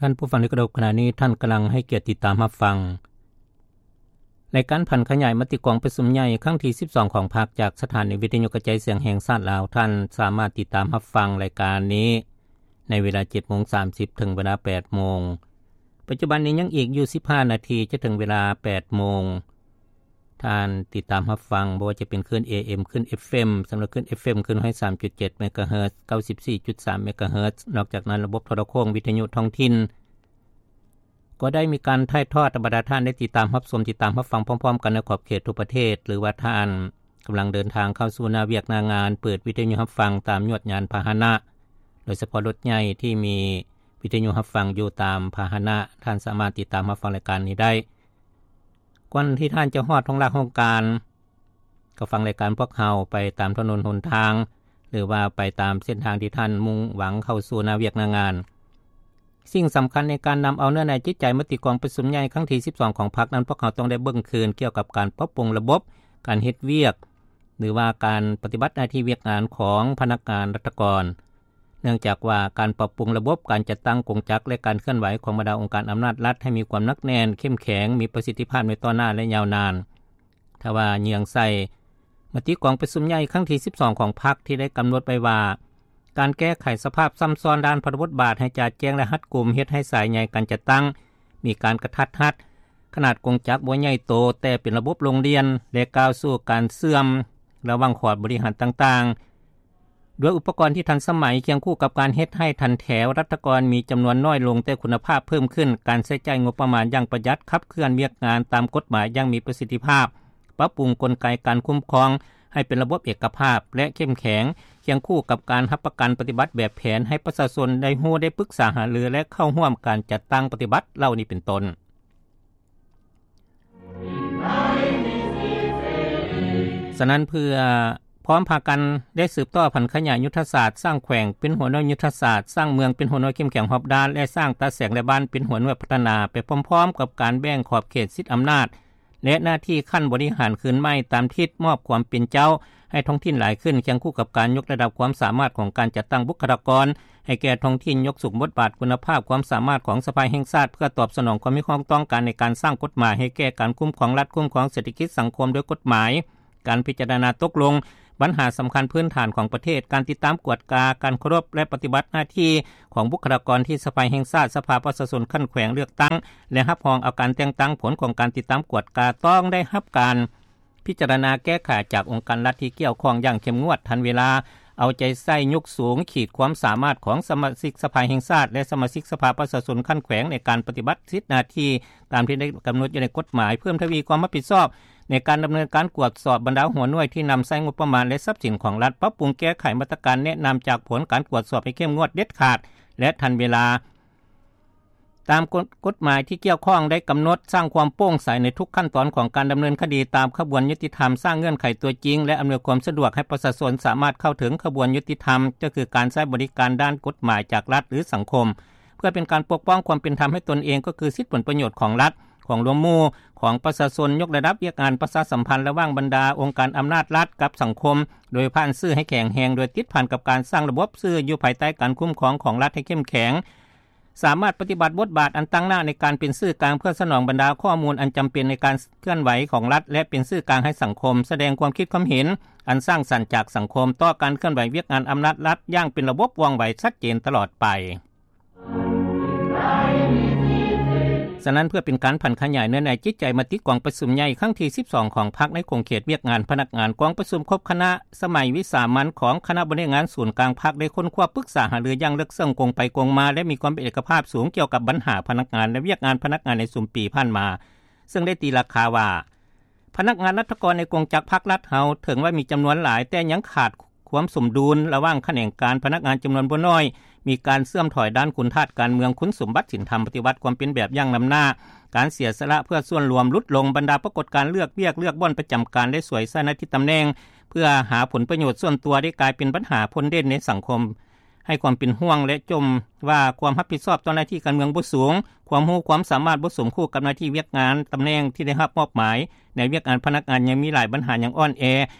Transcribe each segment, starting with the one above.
ທ່ານຜູ້ຟັງທີ່ເຄົາລົບ, ຂະນະນີ້ທ່ານກຳລັງໃຫ້ກຽດຕິດຕາມຮັບຟັງ ລາຍການຜັນຂະຫຍາຍມະຕິກອງປະຊຸມໃຫຍ່ຄັ້ງທີສິບສອງຂອງພັກ ຈາກສະຖານີວິທະຍຸກະຈາຍສຽງແຫ່ງຊາດລາວ. ທ່ານສາມາດຕິດຕາມຮັບຟັງລາຍການນີ້ ໃນເວລາເຈັດໂມງສາມສິບ ເຖິງເວລາແປດໂມງ. ປັດຈຸບັນນີ້ຍັງອີກຢູ່ສິບຫ້ານາທີ ຈະເຖິງເວລາແປດໂມງ. ທ່ານຕິດຕາມຮັບຟັງ ບໍ່ວ່າຈະເປັນຄື້ນ ເອເອັມ ຄື້ນ ເອັຟເອັມ ສຳລັບຄື້ນ ເອັຟເອັມ ຄື້ນ ໜຶ່ງຮ້ອຍສາມຈຸດເຈັດ ເມກາເຮີດ ເກົ້າສິບສີ່ຈຸດສາມ ເມກາເຮີດ. ນອກຈາກນັ້ນ ລະບົບໂທລະໂຄ່ງ ວິທະຍຸທ້ອງຖິ່ນ ກໍໄດ້ມີການຖ່າຍທອດ ໃຫ້ບັນດາທ່ານໄດ້ຕິດຕາມຮັບຊົມ ຕິດຕາມຮັບຟັງພ້ອມໆກັນໃນຂອບເຂດທົ່ວປະເທດ ຫຼືວ່າທ່ານກຳລັງເດີນທາງເຂົ້າສູ່ໜ້າວຽກໜ້າງານ ເປີດວິທະຍຸຮັບຟັງຕາມຍວດຍານພາຫະນະ, ໂດຍສະເພາະລົດໃຫຍ່ທີ່ມີວິທະຍຸຮັບຟັງຢູ່ຕາມພາຫະນະ, ທ່ານສາມາດຕິດຕາມຮັບຟັງລາຍການນີ້ໄດ້. ກ່ອນທີ່ທ່ານຈະຮອດໂຮງລາໂຮງການ, ກໍຟັງລາຍການພວກເຮົາໄປຕາມຖະໜົນຫົນທາງ ຫຼືວ່າໄປຕາມເສັ້ນທາງທີ່ທ່ານມຸ່ງຫວັງເຂົ້າສູ່ໜ້າວຽກໜ້າງານ. ສິ່ງສຳຄັນໃນການນຳເອົາເນື້ອໃນຈິດໃຈມະຕິກອງປະຊຸມໃຫຍ່ຄັ້ງທີສິບສອງຂອງພັກນັ້ນ, ພວກເຮົາຕ້ອງໄດ້ເບິ່ງຄືນກ່ຽວກັບການປັບປຸງລະບົບການເຮັດວຽກ ຫຼືວ່າການປະຕິບັດໜ້າທີ່ວຽກງານຂອງພະນັກງານລັດຖະກອນ. ເນື່ອງຈາກວ່າການປັບປຸງລະບົບການຈັດຕັ້ງກົງຈັກ ແລະ ການເຄື່ອນໄຫວຂອງບັນດາອົງການອຳນາດລັດໃຫ້ມີຄວາມໜັກແໜ້ນ, ເຂັ້ມແຂງ, ມີປະສິດທິພາບໃນຕໍ່ໜ້າ ແລະ ຍາວນານ. ຖ້າວ່າເຍືອງໃສ່ມະຕິກອງປະຊຸມໃຫຍ່ຄັ້ງທີສິບສອງຂອງພັກ ທີ່ໄດ້ກຳນົດໄວ້ວ່າ ການແກ້ໄຂສະພາບຊ້ຳຊ້ອນດ້ານພະບົດບາດໃຫ້ຈະແຈ້ງ ແລະ ຮັດກຸມ, ເຮັດໃຫ້ສາຍໃຍການຈັດຕັ້ງມີການກະທັດຮັດ, ຂະໜາດກົງຈັກບໍ່ໃຫຍ່ໂຕ ແຕ່ເປັນລະບົບໂຮງຮຽນ ແລະ ກ້າວສູ່ການເຊື່ອມລະຫວ່າງຂອດບໍລິຫານຕ່າງໆ ດ້ວຍອຸປະກອນທີ່ທັນສະໄໝ, ຄຽງຄູ່ກັບການເຮັດໃຫ້ຖັນແຖວລັດຖະກອນມີຈຳນວນນ້ອຍລົງ ແຕ່ຄຸນນະພາບເພີ່ມຂຶ້ນ, ການໃຊ້ຈ່າຍງົບປະມານຢ່າງປະຢັດ, ຂັບເຄື່ອນວຽກງານຕາມກົດໝາຍຢ່າງມີປະສິດທິພາບ, ປັບປຸງກົນໄກການຄຸ້ມຄອງໃຫ້ເປັນລະບົບເອກະພາບ ແລະ ເຂັ້ມແຂງ, ຄຽງຄູ່ກັບການຮັບປະກັນປະຕິບັດແບບແຜນໃຫ້ປະຊາຊົນໄດ້ຮູ້, ໄດ້ປຶກສາຫາລື ແລະ ເຂົ້າຮ່ວມການຈັດຕັ້ງປະຕິບັດເຫຼົ່ານີ້ເປັນຕົ້ນ. ສະນັ້ນ ເພື່ອພ້ອມພາກັນໄດ້ສືບຕໍ່ຜັນຂະຫຍາຍຍຸດທະສາດ, ສ້າງແຂວງເປັນຫົວໜ່ວຍຍຸດທະສາດ, ສ້າງເມືອງເປັນຫົວໜ່ວຍເຂັ້ມແຂງຮອບດ້ານ ແລະ ສ້າງຕາແສງ ແລະ ບ້ານເປັນຫົວໜ່ວຍພັດທະນາ ໄປພ້ອມໆກັບການແບ່ງຂອບເຂດສິດອຳນາດ ແລະ ໜ້າທີ່ຂັ້ນບໍລິຫານຄືນໃໝ່ຕາມທິດມອບຄວາມເປັນເຈົ້າໃຫ້ທ້ອງຖິ່ນຫຼາຍຂຶ້ນ, ຄຽງຄູ່ກັບການຍົກລະດັບຄວາມສາມາດຂອງການຈັດຕັ້ງບຸກຄະລາກອນໃຫ້ແກ່ທ້ອງຖິ່ນ, ຍົກສູງບົດບາດຄຸນນະພາບຄວາມສາມາດຂອງສະພາແຫ່ງຊາດ ເພື່ອຕອບສະໜອງຄວາມຮຽກຮ້ອງຕ້ອງການໃນການສ້າງກົດໝາຍໃຫ້ແກ່ການຄຸ້ມຄອງລັດ, ຄຸ້ມຄອງເສດຖະກິດສັງຄົມດ້ວຍກົດໝາຍ, ການພິຈາລະນາຕົກລົງບັນຫາສຳຄັນພື້ນຖານຂອງປະເທດ, ການຕິດຕາມກວດກາການເຄົາລົບ ແລະ ປະຕິບັດໜ້າທີ່ຂອງບຸກຄະລາກອນທີ່ສະພາແຫ່ງຊາດ, ສະພາປະຊາຊົນຂັ້ນແຂວງເລືອກຕັ້ງ ແລະ ຮັບຮອງເອົາການແຕ່ງຕັ້ງ, ຜົນຂອງການຕິດຕາມກວດກາຕ້ອງໄດ້ຮັບການພິຈາລະນາແກ້ໄຂຈາກອົງການລັດທີ່ກ່ຽວຂ້ອງຢ່າງເຂັ້ມງວດ, ທັນເວລາ, ເອົາໃຈໃສ່, ຍົກສູງຂີດຄວາມສາມາດຂອງສະມາຊິກສະພາແຫ່ງຊາດ ແລະ ສະມາຊິກສະພາປະຊາຊົນຂັ້ນແຂວງໃນການປະຕິບັດສິດໜ້າທີ່ຕາມທີ່ໄດ້ກຳນົດຢູ່ໃນກົດໝາຍ, ເພີ່ມທະວີຄວາມຮັບຜິດຊອບ ໃນການດຳເນີນການກວດສອບບັນດາຫົວໜ່ວຍທີ່ນຳໃຊ້ງົບປະມານ ແລະ ຊັບສິນຂອງລັດ, ປັບປຸງແກ້ໄຂມາດຕະການແນະນຳຈາກຜົນການກວດສອບໃຫ້ເຂັ້ມງວດ, ເດັດຂາດ ແລະ ທັນເວລາ ຕາມກົດ ກົດໝາຍທີ່ກ່ຽວຂ້ອງໄດ້ກຳນົດ, ສ້າງຄວາມໂປ່ງໃສໃນທຸກຂັ້ນຕອນຂອງການດຳເນີນຄະດີຕາມຂະບວນຍຸຕິທຳ, ສ້າງເງື່ອນໄຂຕົວຈິງ ແລະ ອຳນວຍຄວາມສະດວກໃຫ້ປະຊາຊົນສາມາດເຂົ້າເຖິງຂະບວນຍຸຕິທຳ, ກໍຄືການໃຊ້ບໍລິການດ້ານກົດໝາຍຈາກລັດ ຫຼື ສັງຄົມ, ເພື່ອເປັນການປົກປ້ອງຄວາມເປັນທຳໃຫ້ຕົນເອງ, ກໍຄືສິດຜົນປະໂຫຍດຂອງລັດ, ຂອງລວມໝູ່, ຂອງປະຊາຊົນ, ຍົກລະດັບວຽກງານປະຊາສຳພັນລະຫວ່າງບັນດາອົງການອຳນາດລັດກັບສັງຄົມ, ໂດຍຜ່ານສື່ໃຫ້ແຂງແຮງ, ໂດຍຕິດພັນກັບການສ້າງລະບົບສື່ຢູ່ພາຍໃຕ້ການຄຸ້ມຄອງຂອງລັດໃຫ້ເຂັ້ມແຂງ, ສາມາດປະຕິບັດບົດບາດອັນຕັ້ງໜ້າໃນການເປັນສື່ກາງ ເພື່ອສະໜອງບັນດາຂໍ້ມູນອັນຈຳເປັນໃນການເຄື່ອນໄຫວຂອງລັດ ແລະ ເປັນສື່ກາງໃຫ້ສັງຄົມ, ສະແດງຄວາມຄິດຄວາມເຫັນອັນສ້າງສັນຈາກສັງຄົມຕໍ່ການເຄື່ອນໄຫວວຽກງານອຳນາດລັດຢ່າງເປັນລະບົບ, ວ່ອງໄວ, ຊັດເຈນຕະຫຼອດໄປ. ສະນັ້ນ ເພື່ອເປັນການຜັນຂະຫຍາຍເນື້ອໃນຈິດໃຈມະຕິກອງປະຊຸມໃຫຍ່ຄັ້ງທີສິບສອງຂອງພັກໃນຂົງເຂດວຽກງານພະນັກງານ, ກອງປະຊຸມຄົບຄະນະສະໄໝວິສາມັນຂອງຄະນະບໍລິຫານງານສູນກາງພັກ ໄດ້ຄົ້ນຄວ້າປຶກສາຫາລືຢ່າງເລິກເຊິ່ງ, ກົງໄປກົງມາ ແລະ ມີຄວາມເປັນເອກະພາບສູງກ່ຽວກັບບັນຫາພະນັກງານ ແລະ ວຽກງານພະນັກງານໃນຊຸມປີຜ່ານມາ, ເຊິ່ງໄດ້ຕີລາຄາວ່າ ພະນັກງານລັດຖະກອນໃນກົງຈັກພັກລັດເຮົາ ເຖິງວ່າມີຈຳນວນຫຼາຍ, ແຕ່ຍັງຂາດຄວາມສົມດຸນລະຫວ່າງຂະແໜງການ, ພະນັກງານຈຳນວນບໍ່ໜ້ອຍ, ມີການເຊື່ອມຖອຍດ້ານຄຸນທາດການເມືອງ, ຄຸນສົມບັດສິນທຳ, ປະຕິວັດຄວາມເປັນແບບຢ່າງນຳໜ້າ, ການເສຍສະຫຼະເພື່ອສ່ວນລວມຫຼຸດລົງ, ບັນດາປາກົດການເລືອກວຽກ, ເລືອກບ່ອນປະຈຳການ ແລະ ສວຍໃຊ້ໜ້າທີ່ຕຳແໜ່ງເພື່ອຫາຜົນປະໂຫຍດສ່ວນຕົວ ໄດ້ກາຍເປັນບັນຫາພົ້ນເດັ່ນໃນສັງຄົມ. ໃຫ້ຄວາມເປັນຫ່ວງ ແລະ ຈົ່ມວ່າຄວາມຮັບຜິດຊອບຕໍ່ໜ້າທີ່ການເມືອງບໍ່ສູງ, ຄວາມຮູ້ຄວາມສາມາດບໍ່ສົມຄູ່ກັບໜ້າທີ່ວຽກງານຕຳແໜ່ງທີ່ໄດ້ຮັບມອບໝາຍໃນວຽກງານພະນັກງານຍັງມີຫຼາຍບັນຫາຍັງອ່ອນແອ.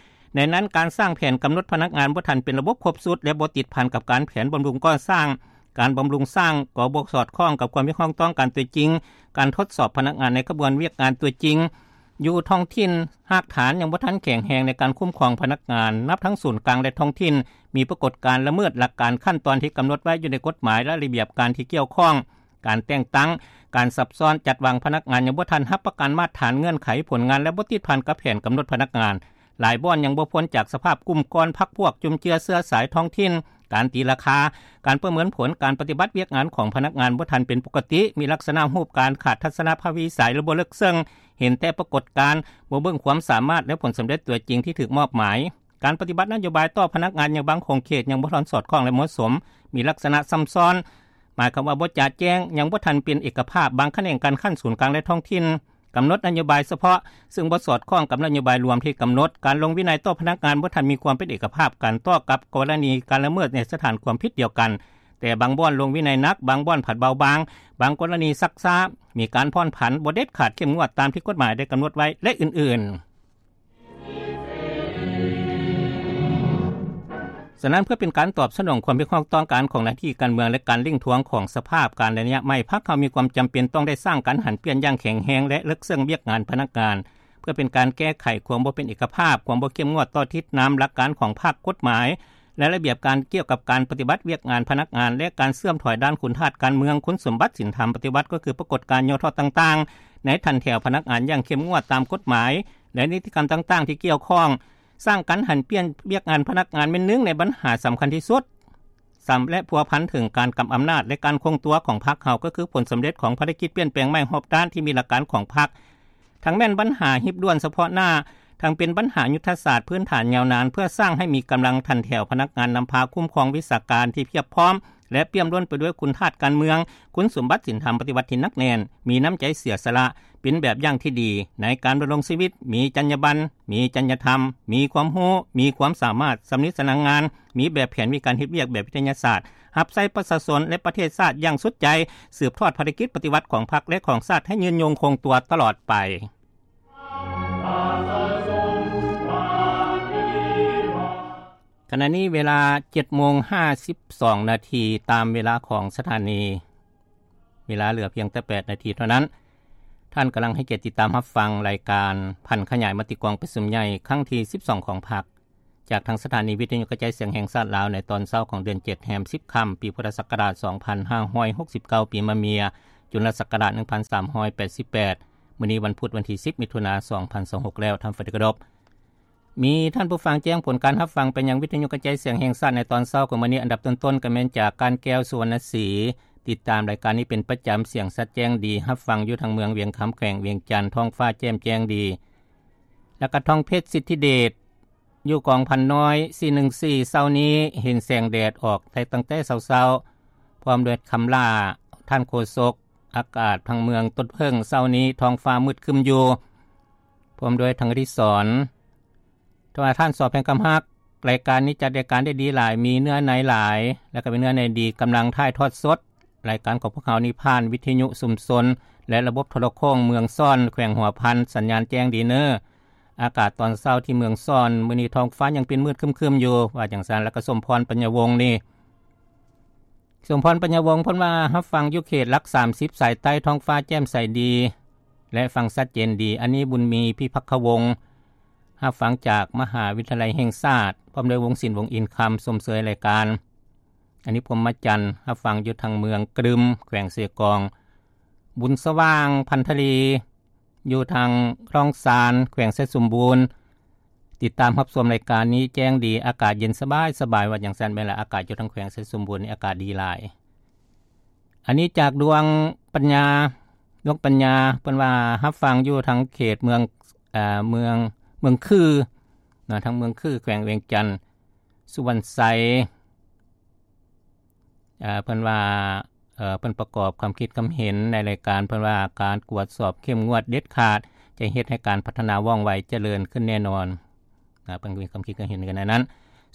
ໃນນັ້ນ ການສ້າງແຜນກຳນົດພະນັກງານບໍ່ທັນເປັນລະບົບຄົບຊຸດ ແລະ ບໍ່ຕິດພັນກັບການແຜນບຳລຸງກໍ່ສ້າງ ການບຳລຸງສ້າງກໍບໍ່ສອດຄ່ອງກັບຄວາມຮຽກຮ້ອງຕ້ອງການຕົວຈິງ, ການທົດສອບພະນັກງານໃນຂະບວນວຽກງານຕົວຈິງຢູ່ທ້ອງຖິ່ນ, ຮາກຖານຍັງບໍ່ທັນແຂງແຮງໃນການຄຸ້ມຄອງພະນັກງານ, ນັບທັງສູນກາງ ແລະ ທ້ອງຖິ່ນ, ມີປາກົດການລະເມີດຫຼັກການຂັ້ນຕອນທີ່ກຳນົດໄວ້ຢູ່ໃນກົດໝາຍ ແລະ ລະບຽບການທີ່ກ່ຽວຂ້ອງ, ການແຕ່ງຕັ້ງ, ການສັບຊ້ອນ, ຈັດວາງພະນັກງານຍັງບໍ່ທັນຮັບປະກັນມາດຖານເງື່ອນໄຂຜົນງານ ແລະ ບໍ່ຕິດພັນກັບແຜນກຳນົດພະນັກງານ. ຫຼາຍບ່ອນຍັງບໍ່ພົ້ນຈາກສະພາບກຸ່ມກ້ອນພັກພວກ ຈຸມເຈືອເຊື້ອສາຍທ້ອງຖິ່ນ, ການຕີລາຄາ, ການປະເມີນຜົນການປະຕິບັດວຽກງານຂອງພະນັກງານບໍ່ທັນເປັນປົກກະຕິ, ມີລັກສະນະຮູບການຂາດທັດສະນະພະວິໄສ ແລະ ບໍ່ເລິກເຊິ່ງ, ເຫັນແຕ່ປາກົດການ, ບໍ່ເບິ່ງຄວາມສາມາດ ແລະ ຜົນສຳເລັດຕົວຈິງທີ່ຖືກມອບໝາຍ. ການປະຕິບັດນະໂຍບາຍຕໍ່ພະນັກງານໃນບາງຂົງເຂດຍັງບໍ່ທັນສອດຄ່ອງ ແລະ ເໝາະສົມ, ມີລັກສະນະຊຳຊ້ອນ, ໝາຍຄວາມວ່າບໍ່ຈະແຈ້ງ, ຍັງບໍ່ທັນເປັນເອກະພາບ, ບາງຂະແໜງການຂັ້ນສູນກາງ ແລະ ທ້ອງຖິ່ນ ກຳນົດນະໂຍບາຍສະເພາະ ຊຶ່ງບໍ່ສອດຄ່ອງກັບນະໂຍບາຍລວມທີ່ກຳນົດ, ການລົງວິໄນຕໍ່ພະນັກງານບໍ່ທັນມີຄວາມເປັນເອກະພາບກັນຕໍ່ກັບກໍລະນີການລະເມີດໃນສະຖານຄວາມຜິດດຽວກັນ, ແຕ່ບາງບ່ອນລົງວິໄນໜັກ, ບາງບ່ອນຜັດເບົາບາງ, ບາງກໍລະນີຊັກຊ້າ, ມີການຜ່ອນຜັນ, ບໍ່ເດັດຂາດເຂັ້ມງວດຕາມທີ່ກົດໝາຍໄດ້ກຳນົດໄວ້ ແລະ ອື່ນໆ. ສະນັ້ນ ເພື່ອເປັນການຕອບສະໜອງຄວາມຮຽກຮ້ອງຕ້ອງການຂອງໜ້າທີ່ການເມືອງ ແລະ ການເລັ່ງທວງຂອງສະພາບການໃນໄລຍະໃໝ່, ພັກເຮົາມີຄວາມຈຳເປັນຕ້ອງໄດ້ສ້າງການຫັນປ່ຽນຢ່າງແຂງແຮງ ແລະ ເລິກເຊິ່ງວຽກງານພະນັກງານ, ເພື່ອເປັນການແກ້ໄຂຄວາມບໍ່ເປັນເອກະພາບ, ຄວາມບໍ່ເຂັ້ມງວດຕໍ່ທິດນຳຫຼັກການຂອງພັກ, ກົດໝາຍ ແລະ ລະບຽບການກ່ຽວກັບການປະຕິບັດວຽກງານພະນັກງານ ແລະ ການເສື່ອມຖອຍດ້ານຄຸນທາດການເມືອງ, ຄຸນສົມບັດສິນທຳປະຕິວັດ ກໍຄືປາກົດການຫຍໍ້ທໍ້ຕ່າງໆ ໃນຖັນແຖວພະນັກງານຢ່າງເຂັ້ມງວດຕາມກົດໝາຍ ແລະ ນິຕິກຳຕ່າງໆທີ່ກ່ຽວຂ້ອງ, ສ້າງການຫັນປ່ຽນວຽກງານພະນັກງານແມ່ນໜຶ່ງໃນບັນຫາສຳຄັນທີ່ສຸດ, ສຳ ແລະ ພົວພັນເຖິງການກຳອຳນາດ ແລະ ການຄົງຕົວຂອງພັກເຮົາ ກໍຄືຜົນສຳເລັດຂອງພາລະກິດປ່ຽນແປງໃໝ່ຮອບດ້ານທີ່ມີຫຼັກການຂອງພັກ, ທັງແມ່ນບັນຫາຮີບດ່ວນສະເພາະໜ້າ, ທັງເປັນບັນຫາຍຸດທະສາດພື້ນຖານຍາວນານ ເພື່ອສ້າງໃຫ້ມີກຳລັງຖັນແຖວພະນັກງານນຳພາຄຸ້ມຄອງວິຊາການທີ່ພຽບພ້ອມ ແລະ ປ່ຽມລົ້ນໄປດ້ວຍຄຸນທາດການເມືອງ, ຄຸນສົມບັດສິນທຳປະຕິວັດທີ່ໜັກແໜ້ນ, ມີນ້ຳໃຈເສຍສະຫຼະ, ເປັນແບບຢ່າງທີ່ດີໃນການດຳລົງຊີວິດ, ມີຈັນຍາບັນ, ມີຈັນຍາທຳ, ມີຄວາມຮູ້, ມີຄວາມສາມາດ, ຊຳນິຊຳນານງານ, ມີແບບແຜນ, ມີການເຮັດວຽກແບບວິທະຍາສາດ, ຮັບໃຊ້ປະຊາຊົນ ແລະ ປະເທດຊາດຢ່າງສຸດໃຈ, ສືບທອດພາລະກິດປະຕິວັດຂອງພັກ ແລະ ຂອງຊາດໃຫ້ຍືນຍົງຄົງຕົວຕະຫຼອດໄປ. ຂະນະນີ້ເວລາເຈັດໂມງຫ້າສິບສອງນາທີ ຕາມເວລາຂອງສະຖານີ, ເວລາເຫຼືອພຽງແຕ່ແປດນາທີເທົ່ານັ້ນ. ທ່ານກຳລັງໃຫ້ກຽດຕິດຕາມຮັບຟັງລາຍການຜັນຂະຫຍາຍມະຕິກອງປະຊຸມໃຫຍ່ຄັ້ງທີສິບສອງຂອງພັກ ຈາກທາງສະຖານີວິທະຍຸກະຈາຍສຽງແຫ່ງຊາດລາວ ໃນຕອນເຊົ້າຂອງເດືອນເຈັດ ແຮມສິບຄ່ຳ ປີພຸດທະສັກກະລາດສອງພັນຫ້າຮ້ອຍຫົກສິບເກົ້າ ປີມະເມຍ ຈຸນລະສັກກະລາດໜຶ່ງພັນສາມຮ້ອຍແປດສິບແປດ. ມື້ນີ້ວັນພຸດ ວັນທີສິບ ມິຖຸນາ ສອງພັນຊາວຫົກແລ້ວ. ທ່ານທີ່ເຄົາລົບ, ມີທ່ານຜູ້ຟັງແຈ້ງຜົນການຮັບຟັງໄປຍັງວິທະຍຸກະຈາຍສຽງແຫ່ງຊາດໃນຕອນເຊົ້າຂອງມື້ນີ້. ອັນດັບຕົ້ນໆກໍແມ່ນຈາກການແກ້ວ ສຸວັນນະສີ, ຕິດຕາມລາຍການນີ້ເປັນປະຈຳ, ສຽງຊັດແຈ້ງດີ, ຮັບຟັງຢູ່ທາງເມືອງວຽງຄຳ ແຂວງວຽງຈັນ, ທ້ອງຟ້າແຈ່ມແຈ້ງດີ. ແລ້ວກໍທອງເພັດ ສິດທິເດດ ຢູ່ກອງພັນນ້ອຍ ສີ່ໜຶ່ງສີ່ ເຊົ້ານີ້ເຫັນແສງແດດອອກແຕ່ຕັ້ງແຕ່ເຊົ້າໆ ພ້ອມດ້ວຍຄຳຫຼ້າ ທ່ານໂຄສົກ. ອາກາດທາງເມືອງຕົ້ນເຜິ້ງ ເຊົ້ານີ້ທ້ອງຟ້າມືດຄຶ້ມຢູ່ ພ້ອມດ້ວຍທາງອະດິສອນ. ແຕ່ວ່າທ່ານ ສອ ແພງຄຳຮັກ, ລາຍການນີ້ຈັດລາຍການໄດ້ດີຫຼາຍ, ມີເນື້ອໃນຫຼາຍ ແລະ ກໍມີເນື້ອໃນດີ, ກຳລັງຖ່າຍທອດສົດ. ລາຍການຂອງພວກເຮົານີ້ຜ່ານວິທະຍຸຊຸມຊົນ ແລະ ລະບົບໂທລະໂຄ່ງເມືອງຊ້ອນ ແຂວງຫົວພັນ, ສັນຍານແຈ້ງດີເນີ. ອາກາດຕອນເຊົ້າທີ່ເມືອງຊ້ອນ ມື້ນີ້ທ້ອງຟ້າຍັງເປັນມືດຄຶ້ມໆຢູ່ ວ່າຈັ່ງຊັ້ນ. ແລ້ວກໍ ສົມພອນ ປັນຍາວົງນີ້, ສົມພອນ ປັນຍາວົງ ເພິ່ນວ່າຮັບຟັງຢູ່ເຂດຫຼັກສາມສິບສາຍໃຕ້ ທ້ອງຟ້າແຈ່ມໃສດີ ແລະ ຟັງຊັດເຈນດີ. ອັນນີ້ ບຸນມີ ພິພັກຄະວົງ ຮັບຟັງຈາກມະຫາວິທະຍາໄລແຫ່ງຊາດ ພ້ອມດ້ວຍວົງສິນ ວົງອິນຄຳ ຊົມເຊີຍລາຍການ. ອັນນີ້ ພົມມະຈັນ ຮັບຟັງຢູ່ທາງເມືອງກະດຶມ ແຂວງເຊກອງ. ບຸນສະຫວ່າງ ພັນທະລີ ຢູ່ທາງຄອງຊານ ແຂວງໄຊສົມບູນ, ຕິດຕາມຮັບຊົມລາຍການນີ້ແຈ້ງດີ, ອາກາດເຢັນສະບາຍໆ ວ່າຈັ່ງຊັ້ນ. ແມ່ນລະ, ອາກາດຢູ່ທາງແຂວງໄຊສົມບູນນີ້ອາກາດດີຫຼາຍ. ອັນນີ້ຈາກດວງປັນຍາ, ດວງປັນຍາ ເພິ່ນວ່າຮັບຟັງຢູ່ທາງເຂດເມືອງ, ເອີ, ເມືອງ, ເມືອງຄືນະ, ທາງເມືອງຄື ແຂວງວຽງຈັນ. ສຸວັນໄຊ ເອີ, ເພິ່ນວ່າ, ເອີ, ເພິ່ນປະກອບຄວາມຄິດຄຳເຫັນໃນລາຍການ, ເພິ່ນວ່າການກວດສອບເຂັ້ມງວດເດັດຂາດ ຈະເຮັດໃຫ້ການພັດທະນາວ່ອງໄວຈະເລີນຂຶ້ນແນ່ນອນ. ເອີ, ເພິ່ນມີຄວາມຄິດຄຳເຫັນກັນໃນນັ້ນ.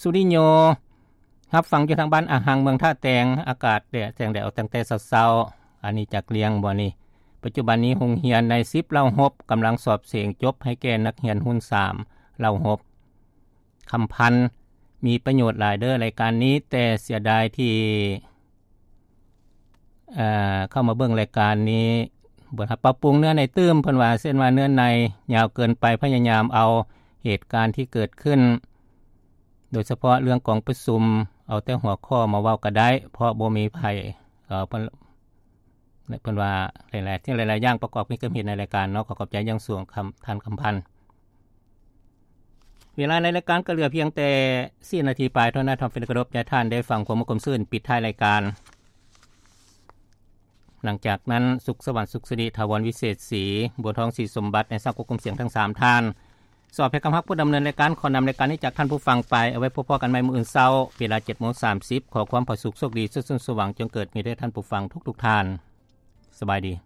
ສຸລິໂຍ ຮັບຟັງຢູ່ທາງບ້ານອາຮັງ ເມືອງທ່າແຕງ, ອາກາດແດດ, ແສງແດດອອກຕັ້ງແຕ່ເຊົ້າໆ. ອັນນີ້ຈາກລຽງບໍ່ນີ້? ປັດຈຸບັນນີ້ໂຮງຮຽນໃນສິບເຫຼົ່າຮົບກຳລັງສອບເສັງຈົບໃຫ້ແກ່ນັກຮຽນຮຸ່ນສາມເຫຼົ່າຮົບ. ຄຳພັນ, ມີປະໂຫຍດຫຼາຍເດີ້ລາຍການນີ້, ແຕ່ເສຍດາຍທີ່ ເຂົ້າມາເບິ່ງລາຍການນີ້ ບໍ່ຮັບປັບປຸງເນື້ອໃນຕື່ມ ເພິ່ນວ່າ ເຊັ່ນວ່າເນື້ອໃນຍາວເກີນໄປ ພະຍາຍາມເອົາເຫດການທີ່ເກີດຂຶ້ນ ໂດຍສະເພາະເລື່ອງກອງປະຊຸມ ເອົາແຕ່ຫົວຂໍ້ມາເວົ້າກໍໄດ້ ເພາະບໍ່ມີໃຜ ເອີ ເພິ່ນ ເພິ່ນວ່າຫຼາຍໆສິ່ງຫຼາຍໆຢ່າງປະກອບມີຄວາມເຫັນໃນລາຍການເນາະ. ຂໍຂອບໃຈຢ່າງສູງ ທ່ານຄຳພັນ. ເວລາໃນລາຍການກໍເຫຼືອພຽງແຕ່ສີ່ນາທີປາຍເທົ່ານັ້ນ ທ່ານເປັນທີ່ເຄົາລົບ ໃຫ້ທ່ານໄດ້ຟັງຄວາມມ່ວນຄວາມຊື່ນປິດທ້າຍລາຍການ. ຫຼັງຈາກນັ້ນ ສຸກສະຫວັນ ສຸກສິລິ ຖາວອນ ວິເສດສີ ບົວທອງ ສີສົມບັດ ໃນສາກວບຄຸມສຽງທັງສາມທ່ານ ສອບແພກຳຮັກຜູ້ດຳເນີນລາຍການ ຂໍນຳລາຍການນີ້ຈາກທ່ານຜູ້ຟັງໄປ ເອົາໄວ້ພົບພໍ້ກັນໃໝ່ມື້ອື່ນເຊົ້າ ເວລາເຈັດໂມງສາມສິບ ຂໍຄວາມຜາສຸກໂຊກດີ ສຸກສົມຫວັງ ຈົ່ງເກີດມີແດ່ທ່ານຜູ້ຟັງທຸກໆທ່ານ. ສະບາຍດີ.